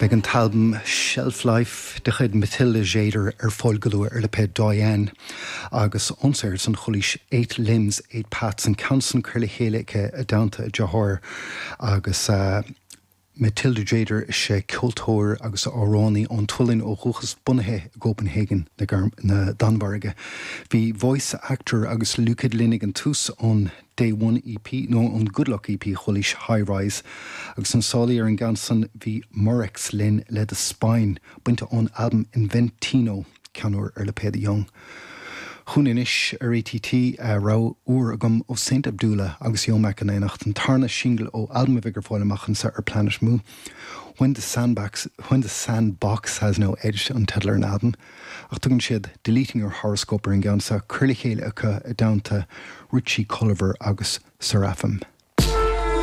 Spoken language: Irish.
Beidh an t-albam Shelf Life de chuid Matilda Tjäder ar fáil go luath ar lipéad Doyen agus ón saothar san chualaís Eight Limbs, Eight Paths, an ceann san curtha le chéile aici i dteannta a deartháir agus Matilda Tjäder is ea ceoltóir agus amhránaí ón tSualainn ó dhúchas, bunaithe i gCópenhagen na Danmhairge. Bhí Voice Actor agus Lukid linn ag an tús ón Day One EP, nó ón Good Luck EP chualaís High Rise, agus sna sálaí ar an gceann san bhí Murex linn le The Spine, bainte ón albam Inventino. Ceann úr ar lipéad Young. Chugainn anois ar ATT, rogha úr agam ó Saint Abdullah agus Yomak in éineacht, an tarna singil ó albam a bheidh ar fáil amach anseo ar Planet Mu. When the Sandbox, When the Sandbox Has No Edge an teideal ar an albam, ach tugann siad Deleting Your Horoscope ar an gceann seo, curtha le chéile acu i dteannta Richie Culliver agus Seraphim.